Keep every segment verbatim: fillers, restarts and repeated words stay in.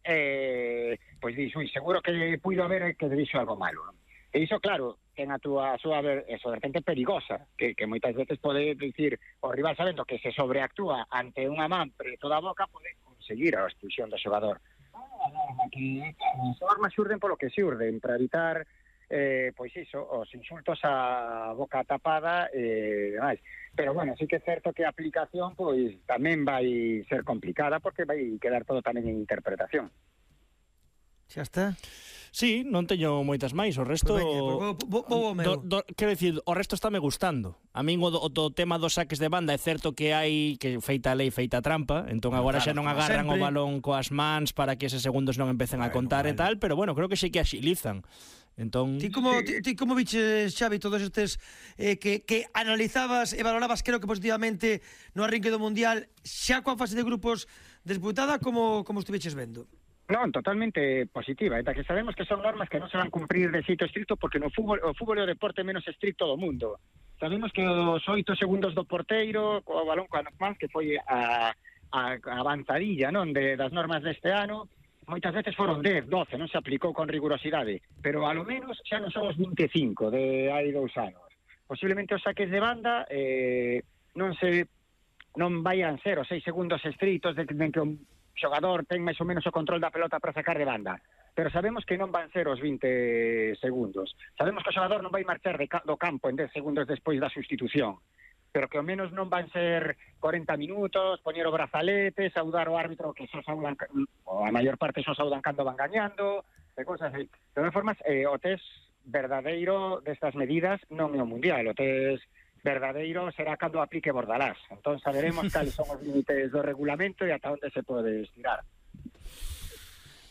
eh, pois dixo, ui, seguro que puido haber que dixo algo malo, non? E iso, claro, ten a túa, a súa eso, vertente perigosa, que, que moitas veces pode dicir o rival sabendo que se sobreactúa ante unha man preto da boca, pode conseguir a expulsión do xogador. Que as normas xurden polo que xurden, para evitar eh, pois iso, os insultos a boca tapada e eh, demais. Pero bueno, sí que é certo que a aplicación pois tamén vai ser complicada porque vai quedar todo tamén en interpretación. Xa está. Sí, non teño moitas máis, o resto... Pues veña, pues, bo, bo, bo, do, do, quero dicir, o resto está me gustando. A min o, o, o tema dos saques de banda é certo que hai que feita a lei, feita a trampa, entón agora claro, xa non agarran sempre. o balón coas mans para que eses segundos non empecen bueno, a contar vale. E tal, pero bueno, creo que sí que axilizan. Entón... Ti como, ti, ti como biches, Xavi, todos estes eh, que, que analizabas e valorabas, creo que positivamente no arrinque do Mundial, xa coa fase de grupos disputada, como, como estuveches vendo? Non, totalmente positiva, eta que sabemos que son normas que non se van cumprir de xeito estricto porque no fútbol, o fútbol é o deporte menos estricto do mundo. Sabemos que os oito segundos do porteiro, co balón coa mans, que foi a, a, a avanzadilla, non, de, das normas deste ano, moitas veces foron dez, doce, non se aplicou con rigurosidade, pero a lo menos xa non son os vinte e cinco de hai dous anos. Posiblemente os saques de banda eh, non se non vayan ser os seis segundos estritos de, de que o xogador ten máis ou menos o control da pelota para sacar de banda, pero sabemos que non van ser os vinte segundos. Sabemos que o xogador non vai marchar de ca do campo en dez segundos despois da sustitución, pero que ao menos non van ser cuarenta minutos, poñer o brazalete, saudar o árbitro que só saudan, ou a maior parte só saudan cando van gañando, e cosas así. De todas formas, eh, o test verdadeiro destas medidas non é o Mundial, o test verdadeiro será cando aplique Bordalás. Entón saberemos cales son os límites do regulamento e ata onde se pode estirar.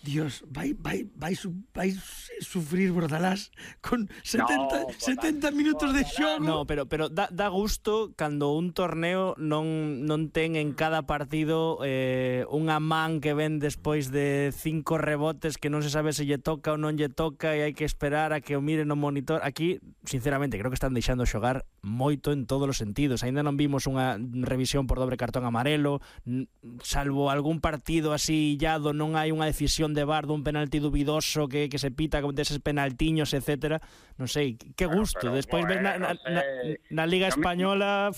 Dios, vai vai vai su, vai sufrir Bordalás con setenta, no, setenta minutos de xogo. No, pero pero dá, dá gusto cando un torneo non non ten en cada partido eh, unha man que ven despois de cinco rebotes que non se sabe se lle toca ou non lle toca e hai que esperar a que o miren no monitor. Aquí, sinceramente, creo que están deixando xogar moito en todos os sentidos. Aínda non vimos unha revisión por dobre cartón amarelo, salvo algún partido así illado, non hai unha decisión de V A R dun penalti dubidoso que, que se pita con deses penaltiños, etcétera. Non sei, que gusto. Bueno, despois bueno, ves na, na, na, na Liga Española...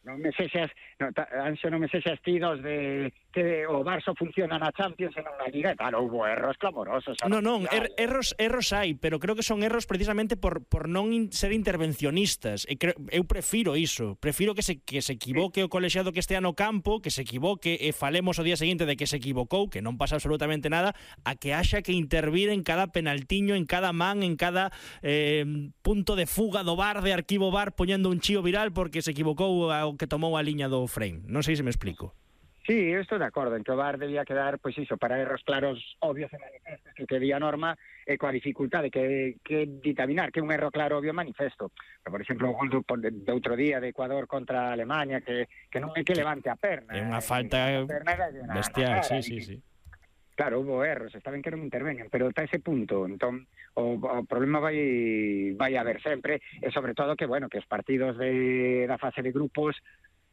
Non me sexas, no, Anxo, non me sexas tidos de que o Barça funciona na Champions e non na Liga, e tal, houve erros clamorosos. Non, non, er, erros, erros hai, pero creo que son erros precisamente por, por non in, ser intervencionistas. E creo, eu prefiro iso, prefiro que se, que se equivoque o colexiado que estea no campo, que se equivoque e falemos o día seguinte de que se equivocou, que non pasa absolutamente nada, a que haxa que intervir en cada penaltiño, en cada man, en cada eh, punto de fuga do V A R, de arquivo V A R, poñendo un chío viral porque se equivocou ao que tomou a liña do frame. Non sei se me explico. Sí, eu estou de acordo en que o V A R debía quedar, pois iso, para erros claros, obvios e manifestos que quería a norma e coa dificultade que, que ditaminar que un erro claro, obvio, manifesto. Pero, por exemplo, o gol do, de outro día de Ecuador contra Alemania, que, que non é que levante a perna. É unha falta bestial, sí, sí, sí. Claro, houve erros, está ben que non intervenen, pero está ese punto, entón o, o problema vai vai haber sempre, e sobre todo que, bueno, que os partidos de, da fase de grupos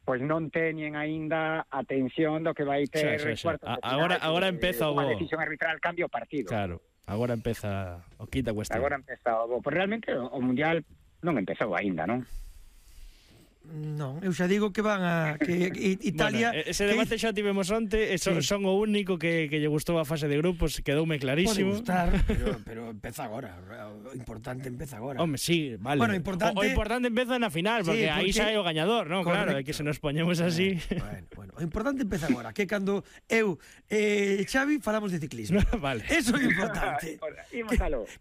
pois non teñen aínda a tensión do que vai ter sí, sí, sí. cuartos de final. Agora, agora empeza o bo. Unha decisión arbitral cambia o partido. Claro, agora empeza o quita cuestión. Agora empeza o bo. Pois realmente o, o Mundial non empezou aínda, non? Non, eu xa digo que van a que Italia... Bueno, ese debate xa tivemos onte, e son, sí. son o único que, que lle gustou a fase de grupos, quedoume clarísimo. Pode gustar, pero, pero empeza agora, o importante empeza agora. Home, sí, vale. Bueno, importante... O, o importante empeza na final, porque, sí, porque... aí xa é o gañador, non? Claro, é que se nos poñemos así... Bueno, bueno, o importante empeza agora, que cando eu e eh, Xavi falamos de ciclismo. Vale. Eso é importante. que,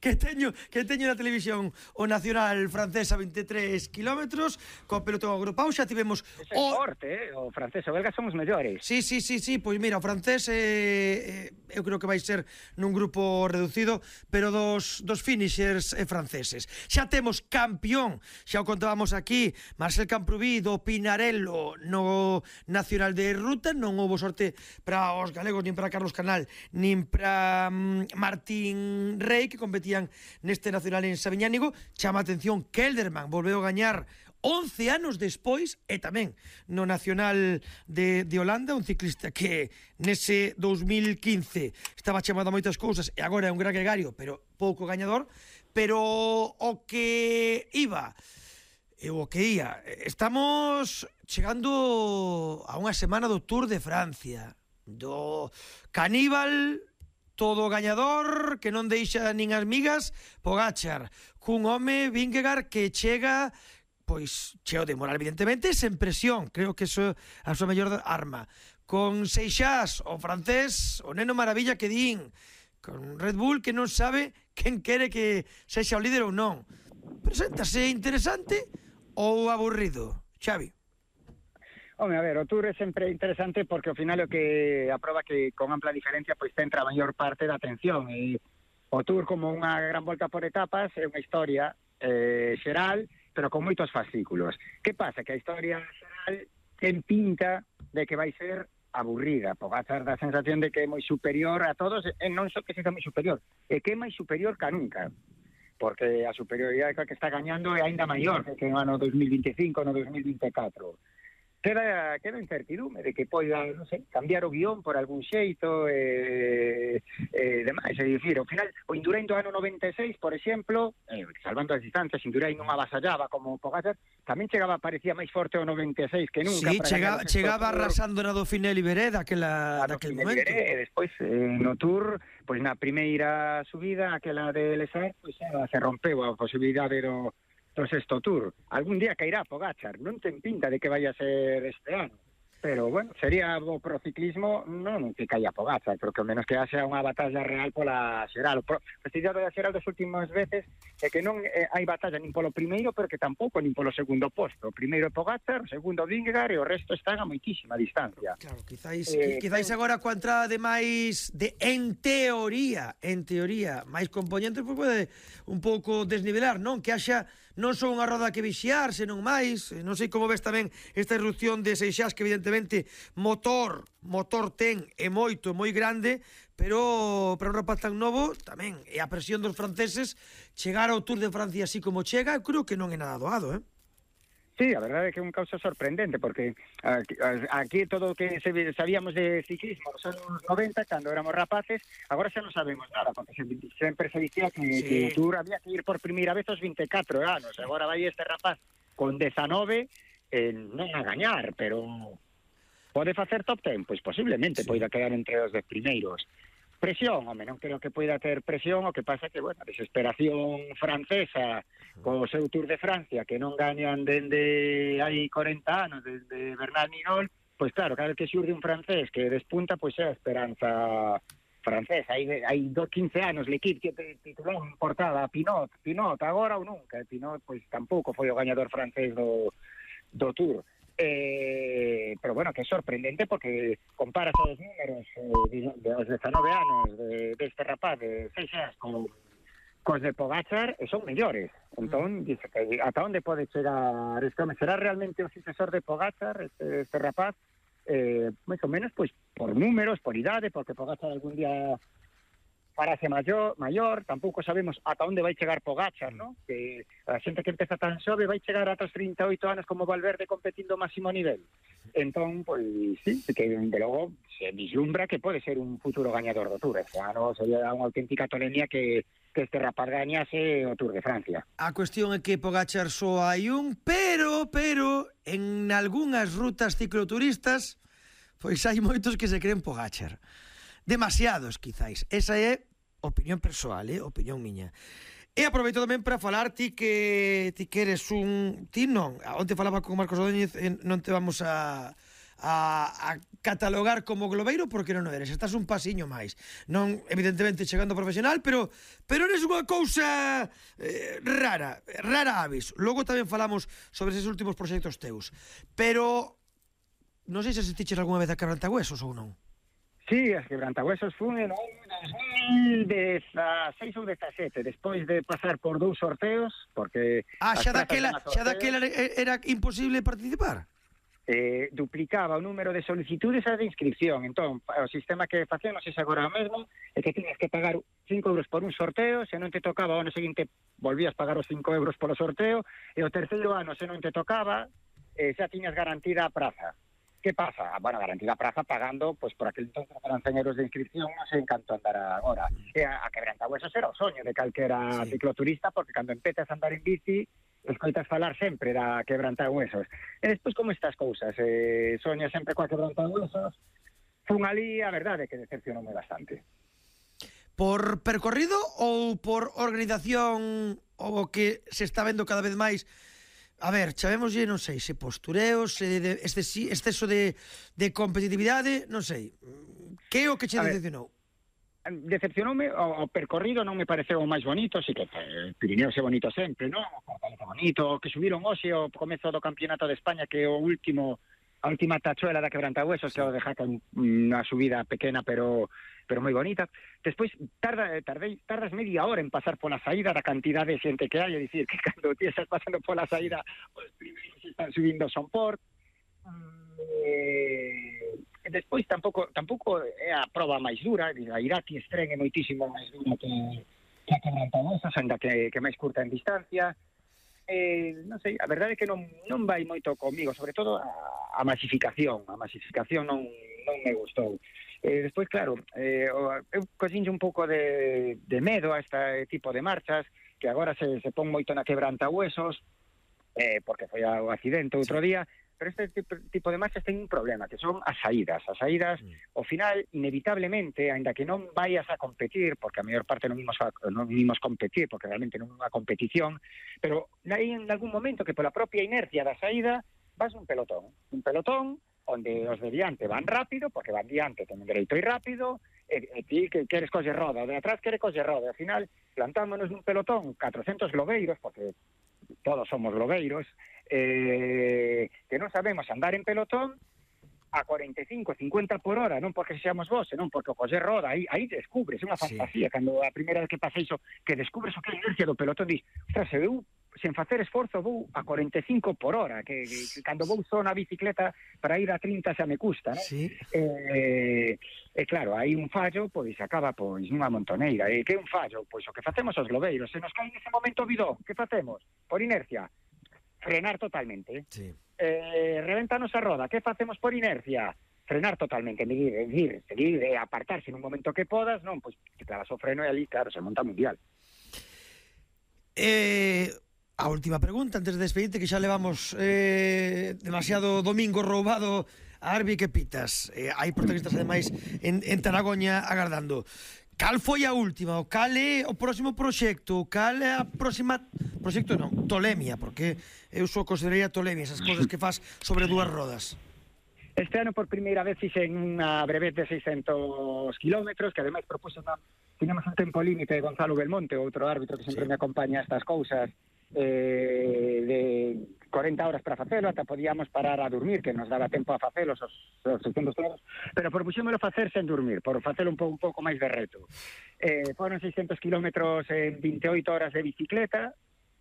que teño que teño na televisión o Nacional francés a veintitrés kilómetros, co pelotón agrupado, xa tivemos ese o forte, eh? O francés e o belga son os mellores. Sí, sí, sí, sí, pois mira, o francés eh, eh, eu creo que vai ser nun grupo reducido, pero dos, dos finishers eh, franceses. Xa temos campeón, xa o contábamos aquí, Marcel Camprubí do Pinarello no Nacional de Ruta. Non houbo sorte para os galegos, nin para Carlos Canal, nin para um, Martín Rey, que competían neste Nacional en Sabiñánigo. Chama a atención, Kelderman volveu a gañar once anos despois, e tamén no Nacional de, de Holanda, un ciclista que nese dous mil quince estaba chamado a moitas cousas e agora é un gran gregario, pero pouco gañador, pero o que iba e o que ia, estamos chegando a unha semana do Tour de Francia, do Caníbal, todo gañador, que non deixa nin as migas, Pogačar, cun home, Vingegaard, que chega pois cheo de moral, evidentemente, sen presión, creo que iso é a súa mellor arma, con Seixas, o francés, o neno maravilla que din, con Red Bull que non sabe quen quere que sexa o líder ou non. Preséntase interesante ou aburrido, Xavi? Home, a ver, o Tour é sempre interesante porque ao final o que aproba que con ampla diferencia pois centra a maior parte da atención, e o Tour como unha gran volta por etapas é unha historia eh, xeral, pero con moitos fascículos. Que pasa? Que a historia xeral ten pinta de que vai ser aburrida. Pogačar dá a sensación de que é moi superior a todos, e non só que seja moi superior, é que é máis superior que nunca, porque a superioridade que está gañando é aínda maior que no ano dos mil veinticinco, no dos mil veinticuatro. Queda, queda incertidume de que poida, non sei, cambiar o guión por algún xeito e, e demais. É dicir, ao final, o Indurain do ano noventa e seis, por exemplo, eh, salvando as distancias, Indurain non avasallaba como Pogačar, tamén chegaba, parecía máis forte o noventa e seis que nunca. Sí, chega, chegaba arrasando na Dauphiné Libéré daquela, daquel momento. Liberé, e despois, eh, no Tour, pois na primeira subida, aquela de Lesar, pois se rompeu a posibilidade do do sexto Tour. Algún día cairá Pogačar, non ten pinta de que vaya a ser este ano, pero bueno, sería o pro ciclismo non que caia Pogačar, pero que ao menos que haxa unha batalla real pola xeral. O prestigiado da xeral das últimas veces é que non eh, hai batalla nin polo primeiro, pero que tampouco nin polo segundo posto. O primeiro é Pogačar, o segundo Vingegaard e o resto están a moitísima distancia. Claro, quizáis, eh, quizáis agora coa entrada de máis de, en teoría, en teoría, máis componentes, pois pode un pouco desnivelar, non? Que haxa non só unha roda que vixiar, senón máis. Non sei como ves tamén esta irrupción de Seixas, que evidentemente motor, motor ten é moito, moi grande, pero para un rapaz tan novo tamén, e a presión dos franceses, chegar ao Tour de Francia así como chega, eu creo que non é nada doado, eh? Sí, a verdade é que é un causa sorprendente, porque aquí, aquí todo o que sabíamos de ciclismo nos anos noventa, cando éramos rapaces, agora xa non sabemos nada, porque sempre se dicía que, sí, que o Tour había que ir por primeira vez aos vinte e catro anos, agora vai este rapaz con dezanove, eh, non a gañar, pero pode facer top ten, pois posiblemente sí, poida quedar entre os dez primeiros. Presión, home, non creo que poida ter presión, o que pasa que, bueno, a desesperación francesa co seu Tour de Francia, que non gañan dende hai corenta anos, desde Bernal Minol, pois claro, cada vez que xurde un francés que despunta, pois é a esperanza francesa. Hai, hai quince anos l'Equipe que titulou en portada a Pinot, Pinot, agora ou nunca. Pinot, pois tampouco foi o gañador francés do, do Tour. Eh, pero bueno, que é sorprendente porque comparas os números eh, de os dezanove anos de, deste rapaz de Seixas con cos de Pogačar e son mellores. Entón, dice que ata onde pode chegar este home? Será realmente o sucesor de Pogačar este, este rapaz? Eh, máis ou menos, pois, por números, por idade, porque Pogačar algún día farase maior, maior, tampouco sabemos ata onde vai chegar Pogačar, ¿no? Que a xente que empeza tan xove vai chegar ata os trinta e oito anos como Valverde competindo ao máximo nivel. Entón, pois, sí, que de logo se vislumbra que pode ser un futuro gañador do Tour. Este ano sería unha auténtica tolemia que, que este rapaz gañase o Tour de Francia. A cuestión é que Pogačar só hai un, pero, pero, en algunhas rutas cicloturistas, pois hai moitos que se creen Pogačar. Demasiados, quizáis. Esa é opinión persoal, eh? Opinión miña. E aproveito tamén para falar ti que ti que eres un... Ti non, onte falaba con Marcos Odóñez, non te vamos a, a, a catalogar como globeiro porque non o eres, estás un pasiño máis. Non, evidentemente, chegando profesional, pero pero eres unha cousa eh, rara, rara avis. Logo tamén falamos sobre eses últimos proxectos teus. Pero non sei se assistixes algunha vez a Quebrantahuesos ou non. Sí, as Quebrantahuesos fun en dos mil dezasseis ou dezasete, despois de pasar por dous sorteos, porque... Ah, xa daquela, xa daquela era imposible participar? eh, duplicaba o número de solicitudes a de inscripción. Entón, o sistema que facemos é agora mesmo, é que tienes que pagar cinco euros por un sorteo, se non te tocaba o ano seguinte volvías pagar os cinco euros polo sorteo, e o terceiro ano, se non te tocaba, eh, xa tiñas garantida a praza. Que pasa? Bueno, garantida a praza pagando, pois por aquel entonces eran cen euros de inscripción, non sei en canto andar agora. E a, a Quebrantahuesos era o soño de calquera sí. cicloturista, porque cando empezas a andar en bici, escoitas falar sempre da Quebrantahuesos. E despois, como estas cousas? Eh, soña sempre coa Quebrantahuesos. Fun ali, a verdade, que decepcionoume bastante. Por percorrido ou por organización o que se está vendo cada vez máis? A ver, chavémoslle, non sei, se postureos, se de, excesi, exceso de, de competitividade, non sei. Que é o que che decepcionou? Decepcionoume, o, o percorrido non me pareceu o máis bonito, así que eh, Pirineo é bonito sempre, non? O Fortaleza bonito, que subiron hoxe o comezo do Campeonato de España, que é o último, a última tachuela da Quebrantahuesos, sí. Que é o de Jaca, unha subida pequena, pero pero moi bonita. Despois, tarda, tardei, tardas media hora en pasar pola saída da cantidad de xente que hai, é dicir, que cando ti estás pasando pola saída, os primeiros están subindo son por... Eh, despois tampouco tampouco é a proba máis dura, a Irati Estren é moitísimo máis dura que, que a Quebrantahuesos, ainda que, que máis curta en distancia. Eh, non sei, a verdade é que non, non vai moito comigo, sobre todo a, a masificación, a masificación non, non me gustou. Eh, despois, claro, eh, eu cosinlle un pouco de, de medo a este tipo de marchas, que agora se, se pon moito na Quebrantahuesos, eh, porque foi o accidente outro día, pero este tipo, tipo de marchas ten un problema, que son as saídas. As saídas, mm. ao final, inevitablemente, aínda que non vayas a competir, porque a maior parte non vimos, a, non vimos competir, porque realmente non é unha competición, pero hai en algún momento que pola propia inercia da saída vas un pelotón. Un pelotón onde os de diante van rápido, porque van diante, ten dereito ir rápido, e, e ti que queres colle roda, o de atrás quere colle roda. Ao final, plantámonos nun pelotón catrocentos lobeiros, porque todos somos lobeiros, eh, que non sabemos andar en pelotón a cuarenta e cinco, cincuenta por hora, non porque seamos vos, senón porque o coller roda, aí, aí descubres, é unha fantasía, sí. Cando a primeira vez que pasa iso, que descubres o que é a inercia do pelotón, dis, ostras, se eu, sen facer esforzo, vou a cuarenta e cinco por hora, que, que, que cando vou só na bicicleta para ir a trinta xa me custa, non? Sí. Eh, e claro, hai un fallo, pois acaba pois nunha montoneira. E que é un fallo? Pois o que facemos os lobeiros, se nos cae nese momento o bidón, que facemos? Por inercia, frenar totalmente. Sí. Eh, revéntanos a roda, que facemos por inercia? Frenar totalmente, medir, seguir, seguir, e apartarse nun momento que podas, non, pois te clavas o freno e ali, claro, se monta mundial. Eh, a última pregunta, antes de despedirte, que xa levamos eh, demasiado domingo roubado a Arbi, que pitas? Eh, hai protagonistas, ademais, en, en Taragoña agardando. Cal foi a última? O cal é o próximo proxecto? Cal é a próxima... Proxecto non, tolemia, porque eu só consideraría tolemia, esas cosas que faz sobre dúas rodas. Este ano por primeira vez fixen unha brevet de seiscentos kilómetros, que ademais propuso na... Tinemos un tempo límite de Gonzalo Belmonte, outro árbitro que sempre sí. me acompaña a estas cousas, eh, de cuarenta horas para facelo, ata podíamos parar a dormir, que nos daba tempo a facelos os, os seiscentos kilómetros, pero propuxémolo facer sen dormir, por facelo un, po, un pouco máis de reto. Eh, foron seiscentos kilómetros en veintioito horas de bicicleta,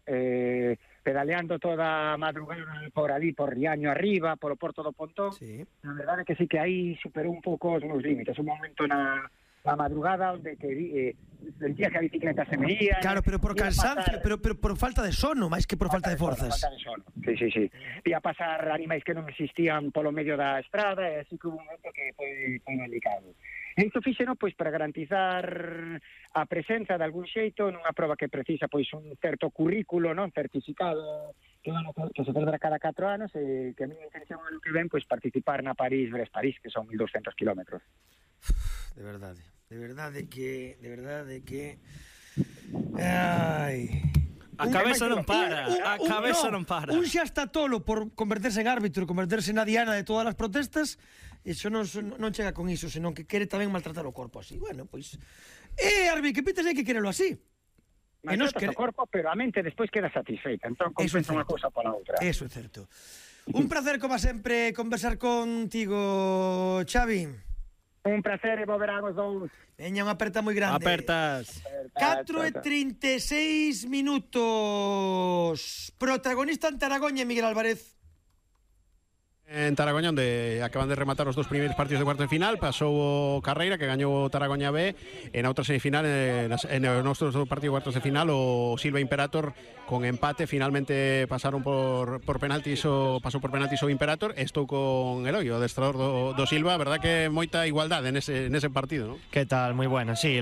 eh, pedaleando toda a madrugada por ali, por Riaño arriba, polo Porto do Pontón. Sí. A verdade é que sí que aí superou un pouco os meus límites, un momento na... a madrugada onde que eh, sentía que a bicicleta se me ia. Claro, pero por cansancio, pero, pero por falta de sono, máis que por falta, falta de forzas. Por falta de sono, sí, sí, sí. Ia pasar animais que non existían polo medio da estrada, e así que un momento que foi, foi delicado. E isto fixeno, pois, para garantizar a presenza de algún xeito nunha proba que precisa, pois, un certo currículo, non, certificado, que, bueno, que se celebra cada catro anos, e que a miña intención ano que ven, pois, participar na París-Brest-París, que son mil doscientos kilómetros. De verdade, de verdade que, de verdade que, ai, a cabeza non para, un, un, a cabeza non para. Un xa está tolo por converterse en árbitro, converterse na diana de todas as protestas, e iso non, non chega con iso, senón que quere tamén maltratar o corpo así. Bueno, pois, eh, Arbi, que pites hai que querelo así. Maltratas quere... o corpo, pero a mente despois queda satisfeita, entón compensa unha cousa pola outra. Eso é certo. Un placer, como sempre, conversar contigo, Xavi. Un placer e volverán os dous. Veña, unha aperta moi grande. Apertas. catro e trinta e seis minutos. Protagonista en Taragoña, Miguel Álvarez. En Taragoña, onde acaban de rematar os dos primeiros partidos de cuarto de final, pasou o Carreira, que gañou o Taragoña B, e na outra semifinal, en os nosos partidos de cuartos de final, o Silva Imperator con empate, finalmente pasaron por, por penaltis, o pasou por penaltis o Imperator, e estou con Eloi, o adestrador do, do Silva, verdad que moita igualdade nese, nese partido, ¿no? ¿Qué tal? Muy buena, sí, la